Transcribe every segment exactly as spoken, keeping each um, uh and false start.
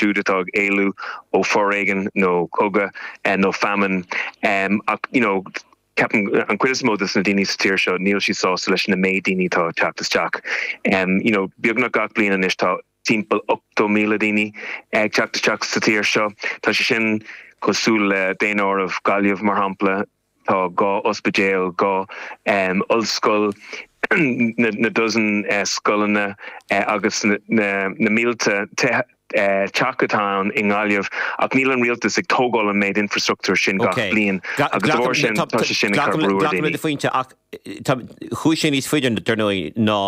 siúd atá ag éalú ó foréigean nó cogadh nó feamainn um, ach you know, ceapaim an chuid is mó de na daoine sa tír seo níl siad sásta leis na méid daoine atá teacht isteach. Um, you know, beagnach gach bliain anois tá timpeall ochtó míle daoine ag teacht isteach sa tír seo. Tá sé sin cosúil le daonáireamh Gaillimh mar shampla tá dhá ospidéal dhá um, ollscoil na, na dozen uh, scoileanna uh, agus na, na, na mílte te uh, teach atá i nGaillimh ach níl an rialtas ag tógáil an méid infrastruchtúr sin gach bliain agus sin tá sé sin de phointe ach chuaigh sé níos faide dar ndóigh ná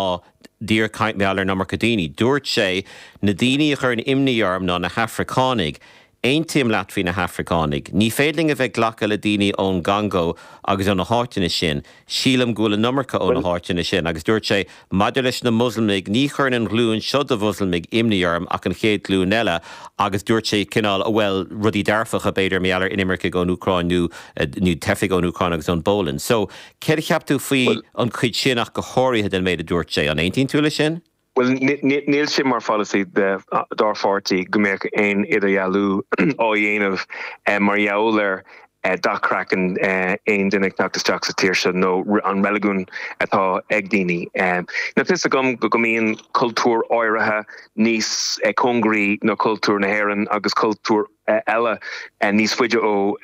díreach caint ar an iomarca daoine. Dúirt sé na daoine a chuireann imní orm ná na hAfracánaigh. Aontaím leat faoi na hAfracánaigh. Ní féidir linn a bheith glacadh le daoine ón gCongó agus ó na háiteanna sin, sílim go bhfuil an iomarca ó na háiteanna sin, agus dúirt sé maidir leis na Moslamaigh ní chuireann an ghlúin seo de Mhoslamaigh imní orm ach an chéad ghlúin eile, agus dúirt sé cineál a bhfuil rudaí dearfacha b'fhéidir mar gheall ar inimircigh ón Úcráin nó nó teifigh ón Úcráin agus ón bPolainn. So céard a cheap tú faoi an chuid sin ach go háirithe den méid a dúirt sé an aontaíonn tú leis sin? Well níl sé mar pholasaí dár pháirtí go mbeadh aon idirdhealú á dhéanamh eh, mar gheall ar eh, dath craicinn eh, aon duine teacht isteach sa tír seo nó an reiligiún atá ag daoine. Tá fhios agam go go mbíonn cultúr áirithe níos cóngaraí ná cultúr na hÉireann agus cultúr eile níos faide ó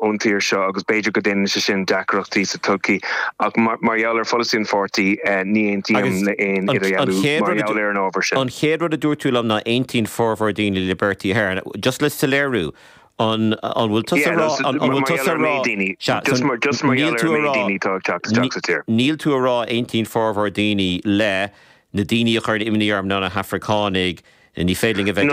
ón tír seo agus b'fhéidir go ndéanann sé sin deacrachtaí sa todhchaí ach mar gheall ar pholasaí an pháirtí ní aontaím le aon idirdhealú mar gheall ar an ábhar sin. An chéad rud a dúirt tú liom ná aontaíonn formhór daoine le Bertie Ahern, just le soiléiriú an an bhfuil tú rá an bhfuil tú rá Níl tú ag rá aontaíonn formhór daoine le na daoine a chuireann imní orm ná na hAfracánaigh ní féidir a bheith